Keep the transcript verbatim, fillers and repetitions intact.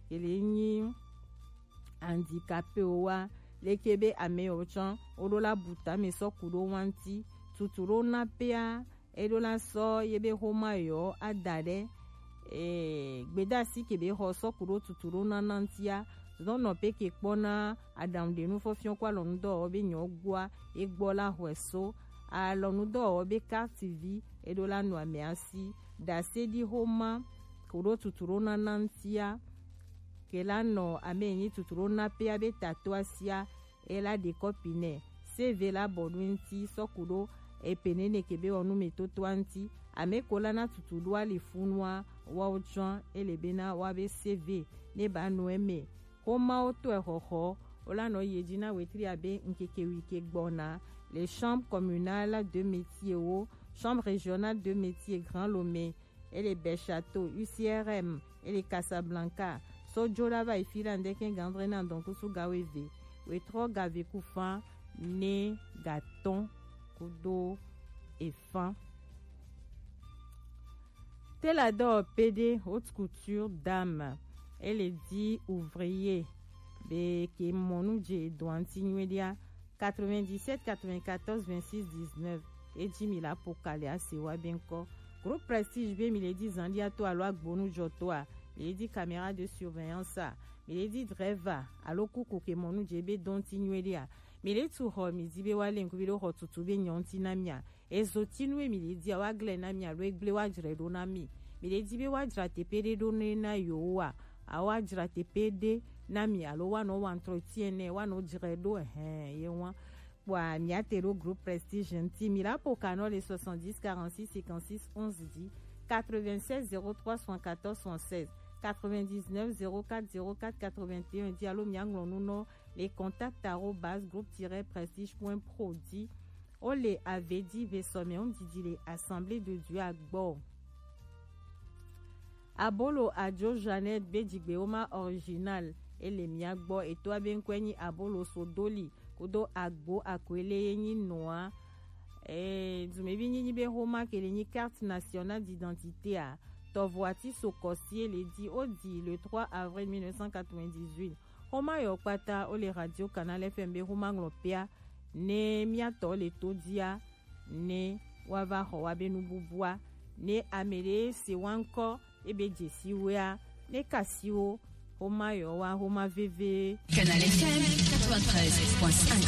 ke le nyi handicapé o wa, leke be ame o tsɔn o ɖo la bu tame sɔ ku ɖo wa ŋti, tutu ɖo na pea e ɖo la sɔ ye be xoma yɔ a da ɖe e gbedasi ke be xɔ sɔ ku ɖo tutu ɖo na na ŋtia. Zɔn nɔ pe ke kpɔ na aɖaŋuɖenu fɔfiɔ kɔ alɔnu dɔwɔwɔ be nyɔ gbɔa e gbɔ la xɔe so alɔnu dɔwɔwɔ be carte vie e ɖo la nɔ ame asi ɖase ɖi xoma ku ɖo tutu ɖo na na ŋtia. Ke la nɔ ame nyi tutu ɖo na pea be tato asia e la ɖe kɔpi nɛ. C V la bɔ ɖo ŋti sɔ ku ɖo epe nene ke be wɔ nu me toto a ŋti. Ame ko la na tutu ɖo ali funua wa o tsɔn e le be na wa be C V ne ba nu eme. Xoma wo tɔe xɔxɔ o la nɔ ye dzi na wetri abe ŋkeke wi ke gbɔna. Les chambres communales de métiers wo, chambre régionale de métiers Grand Lomé, e le Bèchâteau, U C R M, e le Casablanca. Sɔ jo la va yi fi la ŋdeke gandre na dɔn kusu ga weve, wetrɔ ga ve ku fan ne ga tɔn kudo efan. Tela dɔ P D haute couture dame, e le di ouvrier be ke mɔnu je doanti nyuedia. Quatre-vingt-dix-sept quatre-vingt-quatorze vingt-six dix-neuf. E ji mi la po kali ase wa be ŋkɔ. Groupe Prestige be mi le di zandia to alo agbonu jɔ to a, mi le di caméra de surveillance a, mi le di driver alo kuku ke mɔnu je be dɔnti nyuedia, mi le tu xɔ mi di be wa le ŋku bi do xɔ tutu be nyɔnti na mia. Ezotinu e mi le di a wa gle na mi alo egble wa jre ɖo na mi. Mi le di be wa jra tepe ɖe ɖo ne na yo wa. A wa jra tepe ɖe na mi alo wa nɔ wa entretien nɛ wa nɔ jre ɖo ehɛn ye wa. Kpɔa mi ate ɖo groupe Prestige ŋti mi la po kanɔ le soixante-dix quarante-six cinquante-six onze dix, quatre-vingt-seize zéro trois soixante-quatorze soixante-seize, quatre-vingt-dix-neuf zéro quatre zéro quatre quatre-vingt-un di alo mi aŋlɔ nu nɔ le contact arobase groupe tiret prestige point pro di. O le avedi ve sɔmɛ ŋdidi le Assemblée de Dieu a gbɔ. Abolo ajo Jeannette be jigbe wo ma original e le mia gbɔ eto abe ŋkɔe nyi abolo sodoli kudo agbo akwele ye nyi noa. Eh, dumevi nyinyi be xoma ke le nyi carte nationale d'identité a. Tɔvo ati so kɔsi e le di o di le trois avril mille neuf cent quatre-vingt-dix-huit. Xoma yɔ kpata o le radio Canal F M be xoma ŋlɔ pea ne miatɔ le to dia ne wa va xɔ wa be nububua ne ame ɖe se wa ŋkɔ ebe dzesi wea ne kasi wo xoma yɔ wa xoma veve. Canal F M quatre-vingt-treize point cinq.